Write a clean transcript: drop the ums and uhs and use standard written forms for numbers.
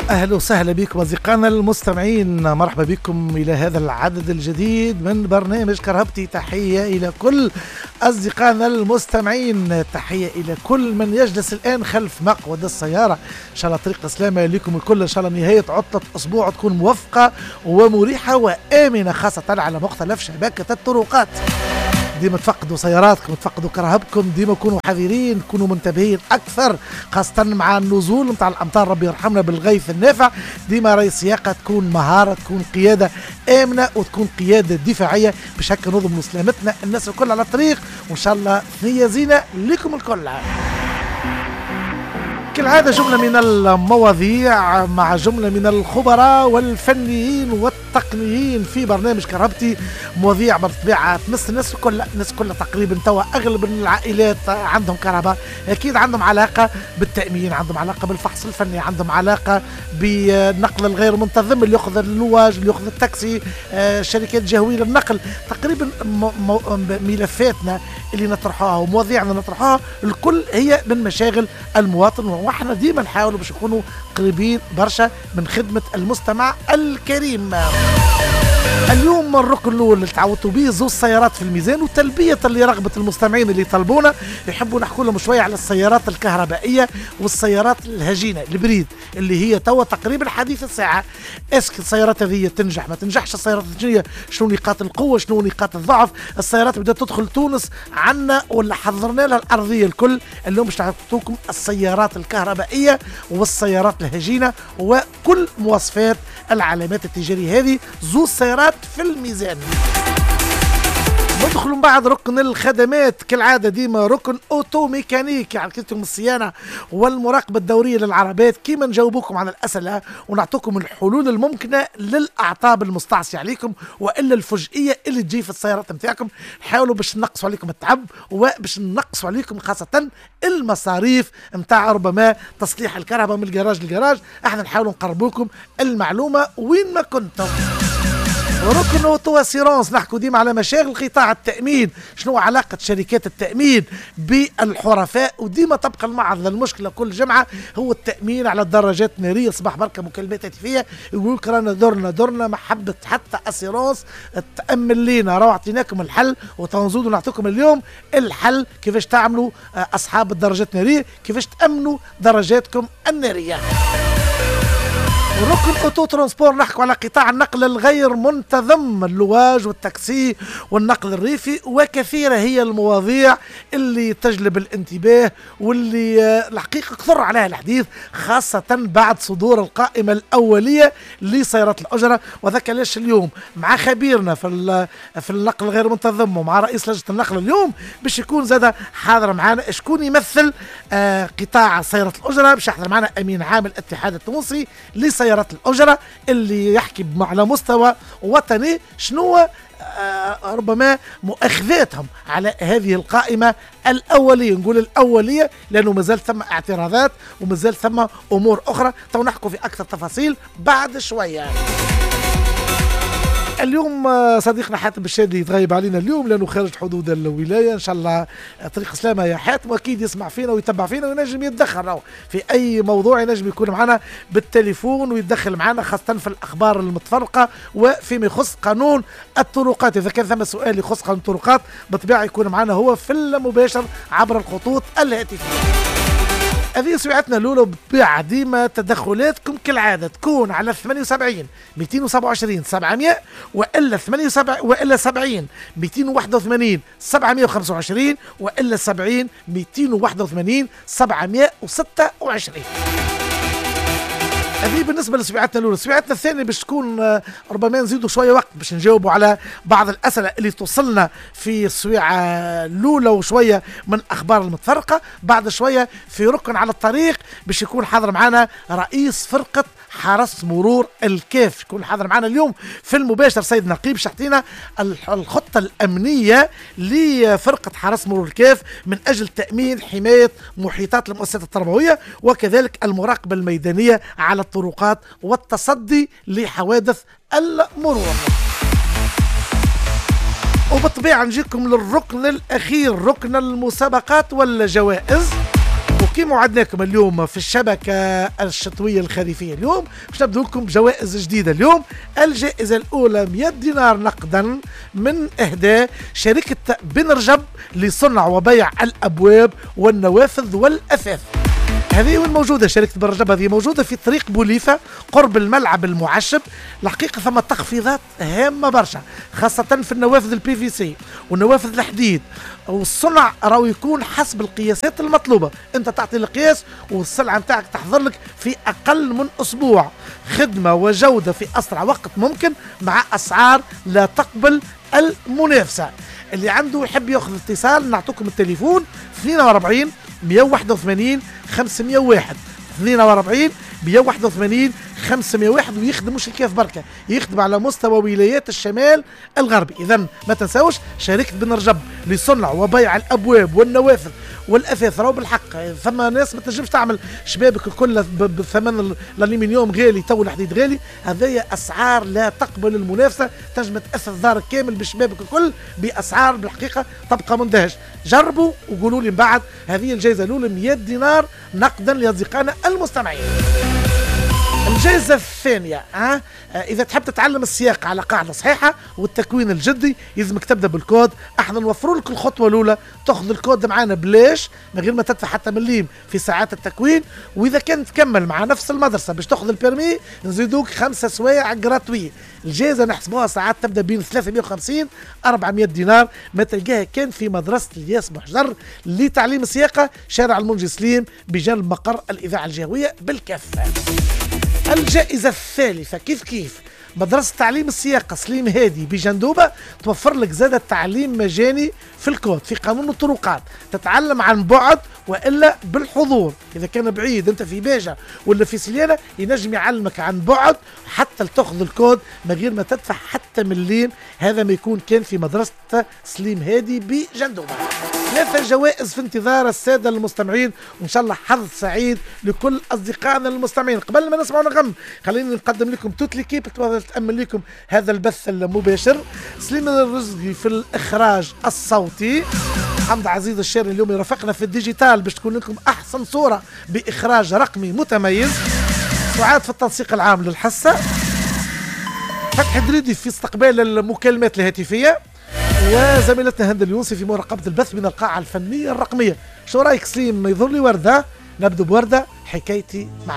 أهلا وسهلا بكم أصدقائنا المستمعين، مرحبا بكم إلى هذا العدد الجديد من برنامج كرهبتي. تحية إلى كل أصدقائنا المستمعين، تحية إلى كل من يجلس الآن خلف مقود السيارة. إن شاء الله طريق سلامة لكم الكل، إن شاء الله نهاية عطلة أسبوع تكون موفقة ومريحة وآمنة، خاصة على مختلف شبكة الطرقات. ديما تفقدوا سياراتكم، تفقدوا كرهبكم، ديما كونوا حذرين، كونوا منتبهين اكثر، خاصة مع النزول نتاع الامطار. ربي يرحمنا بالغيث النافع. ديما راي السياقه تكون مهارة، تكون قيادة امنه وتكون قيادة دفاعية، باش هكا نضمنوا سلامتنا الناس الكل على الطريق. وان شاء الله ثنيه زينة لكم الكل. كالعادة جملة من المواضيع مع جملة من الخبراء والفنيين والتقنيين في برنامج كرهبتي، مواضيع بالطبيعة تمس الناس الكل، الناس الكل تقريبا توا أغلب العائلات عندهم كهرباء، أكيد عندهم علاقة بالتأمين، عندهم علاقة بالفحص الفني، عندهم علاقة بالنقل الغير منتظم اللي يأخذ اللواج، اللي يأخذ التاكسي، شركات جهوية للنقل. تقريبا ملفاتنا اللي نطرحوها ومواضيعنا نطرحوها الكل هي من مشاغل المواطن، واحنا ديما نحاولوا باش نكونوا قريبين برشا من خدمة المستمع الكريم. اليوم الركن الاول اللي تعودتوا به زوج سيارات في الميزان، وتلبية لرغبه المستمعين اللي طلبونا يحبوا نحكوا لهم شوية على السيارات الكهربائية والسيارات الهجينه ال hybride اللي هي توا تقريبا حديث الساعة. est-ce que السيارات هذه تنجح ما تنجحش؟ السيارات الهجينه شنو نقاط القوة، شنو نقاط الضعف؟ السيارات بدات تدخل تونس عنا ولا حضرنا لها الارضية الكل؟ اليوم باش نعطوكم السيارات الكهربائية والسيارات الهجينه وكل مواصفات العلامات التجارية هذه. زوج سيارات في الميزان. ندخل من بعد ركن الخدمات كالعادة، ديما ركن auto-mécanique، يعني كتم الصيانة والمراقبة الدورية للعربات، كيما نجاوبكم على الاسئلة ونعطوكم الحلول الممكنة للاعطاب المستعصيه عليكم والا الفجئيه اللي تجي في السيارات نتاعكم. نحاولوا باش نقصوا عليكم التعب وباش نقصوا عليكم خاصة المصاريف نتاع ربما تصليح الكهرباء من الجراج للجراج. احنا نحاولوا نقربوكم المعلومة وين ما كنتم. ركن auto assurance، نحكوا ديما على مشاغل قطاع التامين، شنو علاقة شركات التامين بالحرفاء؟ وديما تبقى المعرض للمشكلة كل جمعه هو التامين على الدراجات النارية. صباح بركة مكالمات هاتفيه يقول لك رانا درنا ما حبت حتى assurance تامن لينا، راهو اعطيناكم الحل وتنزودوا نعطيكم اليوم الحل كيفاش تعملوا اصحاب الدراجات النارية، كيفاش تامنوا دراجاتكم النارية. ركن auto transport، نحكوا على قطاع النقل الغير منتظم، اللواج والتاكسي والنقل الريفي، وكثيره هي المواضيع اللي تجلب الانتباه واللي الحقيقة كثر عليها الحديث، خاصة بعد صدور القائمة الاولية لسيارات الاجرة. وذاك علاش اليوم مع خبيرنا في النقل الغير منتظم ومع رئيس لجنة النقل اليوم باش يكون زاد حاضر معنا شكون يمثل قطاع سيارات الاجرة. باش يحضر معنا امين عام الاتحاد التونسي لسيارات الأجرة اللي يحكي على مستوى وطني شنو ربما مؤاخذاتهم على هذه القائمة الأولية. نقول الأولية لأنه مازال ثم اعتراضات ومازال ثم أمور أخرى، تو نحكوا في أكثر تفاصيل بعد شوية. اليوم صديقنا حاتم الشادي يتغيب علينا اليوم لانه خارج حدود الولاية. ان شاء الله طريق سلامه يا حاتم، واكيد يسمع فينا ويتبع فينا وينجم يتدخل في اي موضوع، ينجم يكون معنا بالتليفون ويتدخل معنا خاصة في الاخبار المتفرقة وفيما يخص قانون الطرقات. اذا كان ثم سؤال يخص قانون الطرقات بالطبيعة يكون معنا هو في المباشر عبر الخطوط الهاتفية. هذه سمعتنا الاولى، بالطبيعة ديما تدخلاتكم كالعادة تكون على 78 227 700 والا 78 والا 70 281 725 والا 70 281 726. هذه بالنسبة لسبيعتنا الاولى. سبيعتنا الثانية باش تكون ربما نزيدوا شوية وقت باش نجاوبوا على بعض الاسئلة اللي توصلنا في السويعه الاولى وشوية من الاخبار المتفرقة. بعد شوية في ركن على الطريق باش يكون حاضر معنا رئيس فرقه حرس مرور الكاف، يكون حاضر معنا اليوم في المباشر سيد نقيب، باش يعطينا الخطة الامنية لفرقة حرس مرور الكاف من اجل تامين حماية محيطات المؤسسات التربوية وكذلك المراقبة الميدانية على الطرقات والتصدي لحوادث المرور. وبالطبيعه نجيكم للركن الاخير، ركن المسابقات والجوائز. وكما وعدناكم اليوم في الشبكة الشتوية الخريفية، اليوم باش نبدو لكم بجوائز جديدة. اليوم الجائزة الأولى 100 دينار نقدا من إهداء شركة بن رجب لصنع وبيع الأبواب والنوافذ والأثاث. هذه وين موجودة شركة بن رجب؟ هذه موجودة في طريق بوليفة قرب الملعب المعشب. الحقيقة ثم تخفيضات هامة برشا، خاصة في النوافذ ال PVC والنوافذ الحديد، والصنع راهو يكون حسب القياسات المطلوبة. انت تعطي القياس والسلعة نتاعك تحضر لك في اقل من اسبوع. خدمة وجودة في اسرع وقت ممكن مع اسعار لا تقبل المنافسة. اللي عنده يحب ياخذ اتصال نعطوكم التليفون 42 181 501، 42 181 501، ويخدم مش الكاف بركة، يخدم على مستوى ولايات الشمال الغربي. إذا ما تنساوش شركة بن رجب لصنع وبيع الأبواب والنوافذ والأثاث. راهو بالحق ثم ناس ما تنجمش تعمل شبابك الكل بثمن الألمنيوم غالي، تو الحديد غالي. هذايا أسعار لا تقبل المنافسة، تنجم تأثث دارك كامل بشبابك الكل بأسعار بالحقيقة تبقى مندهش. جربوا وقولوا لي من بعد. هذه الجائزة الأولى 100 دينار نقدا لأصدقائنا المستمعين. الجائزة الثانية، إذا تحب تتعلم السياقة على قاعدة صحيحة والتكوين الجدي يلزمك تبدأ بالكود. احنا نوفروا لك الخطوة الأولى، تاخذ الكود معانا بلاش من غير ما تدفع حتى مليم في ساعات التكوين. وإذا كان تكمل مع نفس المدرسة باش تاخذ ال permis نزيدوك 5 سوايع gratuit. الجائزة نحسبوها ساعات تبدأ بين 350 400 دينار، ما تلقاها كان في مدرسة الياس بوحجر لتعليم السياقة، شارع المنجي سليم بجانب مقر الإذاعة الجهوية بالكافة. الجائزة الثالثة كيف كيف مدرسة تعليم السياقة سليم هادي بجندوبة توفر لك زادة تعليم مجاني في الكود في قانون الطرقات، تتعلم عن بعد وإلا بالحضور. إذا كان بعيد أنت في باجة ولا في سليانة ينجم يعلمك عن بعد حتى تأخذ الكود من غير ما تدفع حتى مليم. هذا ما يكون كان في مدرسة سليم هادي بجندوبة. 3 جوائز في انتظار السادة المستمعين، وإن شاء الله حظ سعيد لكل أصدقائنا المستمعين. قبل ما نسمعوا نغم خليني نقدم لكم toute l'équipe تأمن لكم هذا البث المباشر. سليم الرزقي في الإخراج الصوتي، حمد عزيز الشاري اليوم يرافقنا في ال digital باش تكون لكم أحسن صورة بإخراج رقمي متميز، سعاد في التنسيق العام للحصة، فتحي دريدي في استقبال المكالمات الهاتفية، وزميلتنا هند اليونسي في مراقبة البث من القاعة الفنية الرقمية. شو رأيك سليم؟ يظهر لي وردة، نبدو بوردة حكايتي مع